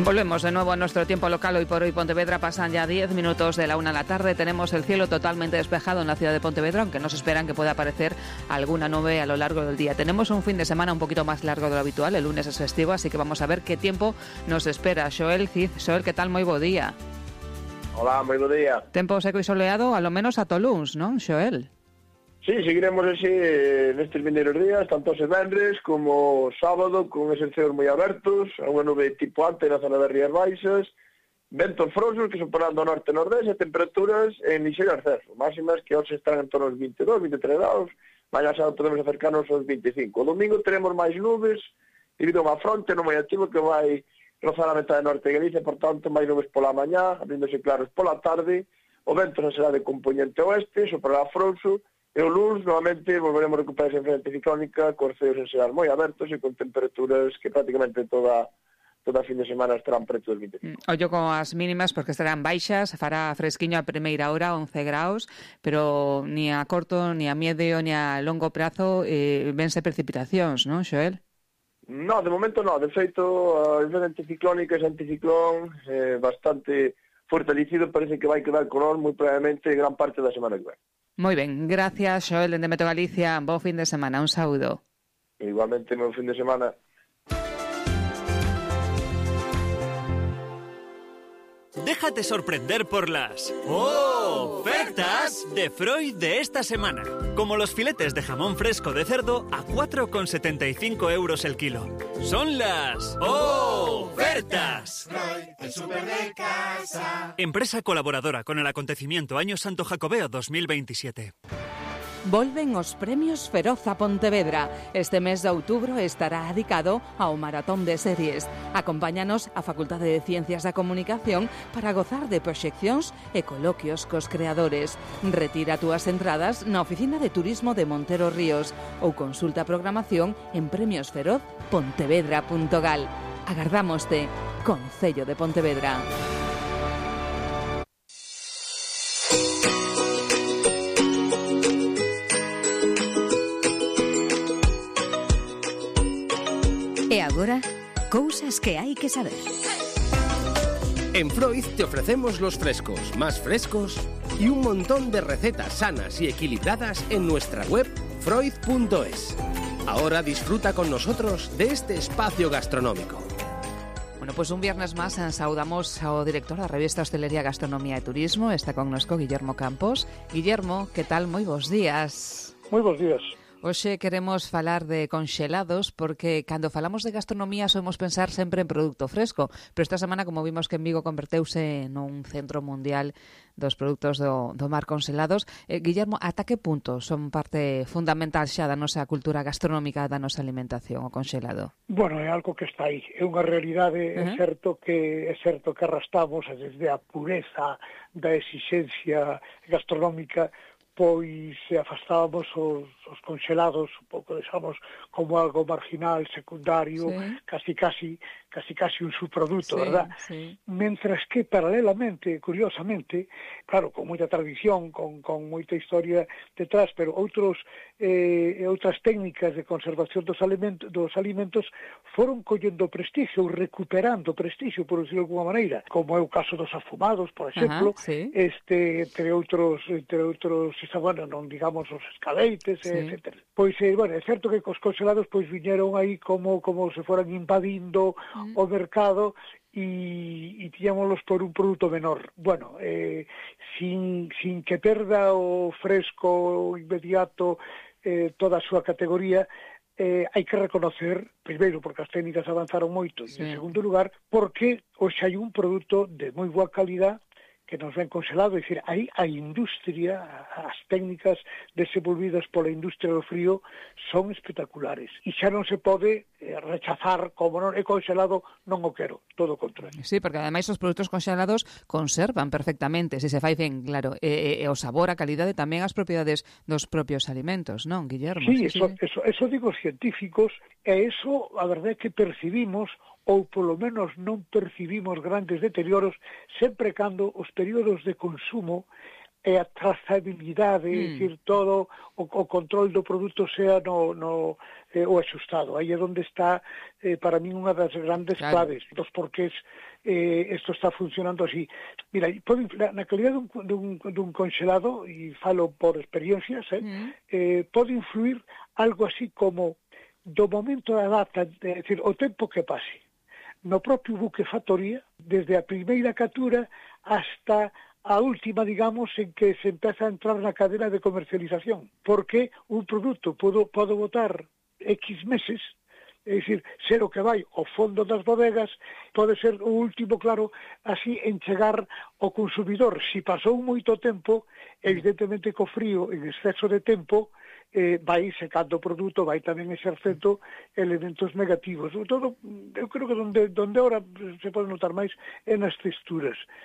Volvemos de nuevo a nuestro tiempo local. Hoy por hoy Pontevedra pasan ya 10 minutos de la 1 de la tarde. Tenemos el cielo totalmente despejado en la ciudad de Pontevedra, aunque nos esperan que pueda aparecer alguna nube a lo largo del día. Tenemos un fin de semana un poquito más largo de lo habitual. El lunes es festivo, así que vamos a ver qué tiempo nos espera. Xoel Cid. Xoel, que tal? Moi bo día. Hola, moi bo día. Tempo seco e soleado, a lo menos a Toluns, non, Xoel? Sí, seguiremos así nestes vindeiros días, tanto ese venres como sábado, con eses ceos moi abertos, a unha nube tipo ante na zona das Rías Baixas, ventos frouxos que soporán do norte e nordeste e temperaturas en lixeiro ascenso, máximas que hoxe están en torno aos 22, 23 graus, mañá sábado podemos acercarnos aos 25. O domingo teremos máis nubes, debido a unha fronte non moi activo que vai rozar a metade norte de Galicia, por tanto, máis nubes pola mañá, abríndose claros pola tarde, o vento non será de componente oeste, soprará frouxo, e o luns, novamente, volveremos a recuperar esa frente ciclónica, cos ceos en xeral moi abertos e con temperaturas que prácticamente toda fin de semana estarán preto dos 25. Ollo con as mínimas, porque estarán baixas, fará fresquiño a primeira hora, 11 graus, pero ni a corto, ni a medio, ni a longo prazo vense precipitacións, non, Xoel? No, de momento no. De feito, a frente ciclónica, ese anticiclón, bastante fortalecido, parece que vai quedar con nós moi probablemente gran parte da semana que ven. Moi ben, gracias, Xoel, de Meteo Galicia. Bo fin de semana, un saúdo. Igualmente, bon fin de semana. Déjate sorprender por las ofertas de Freud de esta semana. Como los filetes de jamón fresco de cerdo a 4,75 € el kilo. Son las ofertas. Freud, el súper de casa. Empresa colaboradora con el acontecimiento Año Santo Jacobeo 2027. Volven os premios Feroz a Pontevedra. Este mes de outubro estará dedicado ao maratón de series. Acompáñanos á Facultade de Ciencias da Comunicación para gozar de proxeccións e coloquios cos creadores. Retira túas entradas na Oficina de Turismo de Montero Ríos ou consulta a programación en premiosferoz.pontevedra.gal. Agardámoste, Concello de Pontevedra. E agora, cousas que hai que saber. En Freud te ofrecemos los frescos más frescos y un montón de recetas sanas y equilibradas en nuestra web freud.es. Ahora disfruta con nosotros de este espacio gastronómico. Bueno, pues un viernes más saudamos ao director da revista Hostelería, Gastronomía e Turismo. Está connosco Guillermo Campos. Guillermo, que tal? Moi bons días. Moi bons días. Hoxe queremos falar de conxelados porque cando falamos de gastronomía somos pensar sempre en produto fresco, pero esta semana, como vimos que en Vigo converteuse nun centro mundial dos produtos do mar conxelados, Guillermo, ata que punto son parte fundamental xa da nosa cultura gastronómica, da nosa alimentación, o conxelado? Bueno, é algo que está aí, é unha realidade, é certo que arrastramos desde a pureza da exigencia gastronómica, pois afastábamos os conxelados un pouco, deixamos como algo marginal, secundario, sí. casi un subproduto, sí, verdad? Sí. Mentras que, paralelamente, curiosamente, claro, con moita tradición, con moita historia detrás, pero outras técnicas de conservación dos alimentos foron collendo prestigio, recuperando prestigio, por decirlo de alguma maneira, como é o caso dos afumados, por exemplo, sí. entre outros, bueno, non digamos os escaleites, sí. Etcétera. Pois, bueno, é certo que cos conxelados pois viñeron aí como se foran invadindo o mercado e tiñámoslos por un produto menor. Bueno, sin que perda o fresco inmediato toda a súa categoría, hai que reconocer, primeiro, porque as técnicas avanzaron moito, sí. E en segundo lugar, porque hoxe hai un produto de moi boa calidad que nos ven congelado, é dicir, aí a industria, as técnicas desenvolvidas pola industria do frío son espectaculares. E xa non se pode rechazar como non é congelado, non o quero, todo o contrario. Sí, porque ademais os produtos congelados conservan perfectamente, se fai ben, claro, o sabor, a calidade, tamén as propiedades dos propios alimentos, non, Guillermo? Sí, eso digo os científicos, e eso, a verdade é que percibimos, ou polo menos non percibimos grandes deterioros, sempre cando os períodos de consumo e a trazabilidade, é dicir, todo o control do produto sea o axustado. Aí é onde está, para min, unha das grandes claves dos porqués isto está funcionando así. Mira, na calidad dun congelado, e falo por experiencias, pode influir algo así como do momento da data, é dicir, o tempo que pase no propio buque factoría, desde a primeira captura hasta a última, digamos, en que se empeza a entrar na cadena de comercialización. Porque un produto pode botar X meses, é dicir, ser o que vai ao fondo das bodegas, pode ser o último, claro, así, en chegar ao consumidor. Si pasou moito tempo, evidentemente co frío, en exceso de tempo, vai secando o produto, vai tamén exercendo elementos negativos. Sobre todo, eu creo que donde ahora se pode notar máis é nas texturas.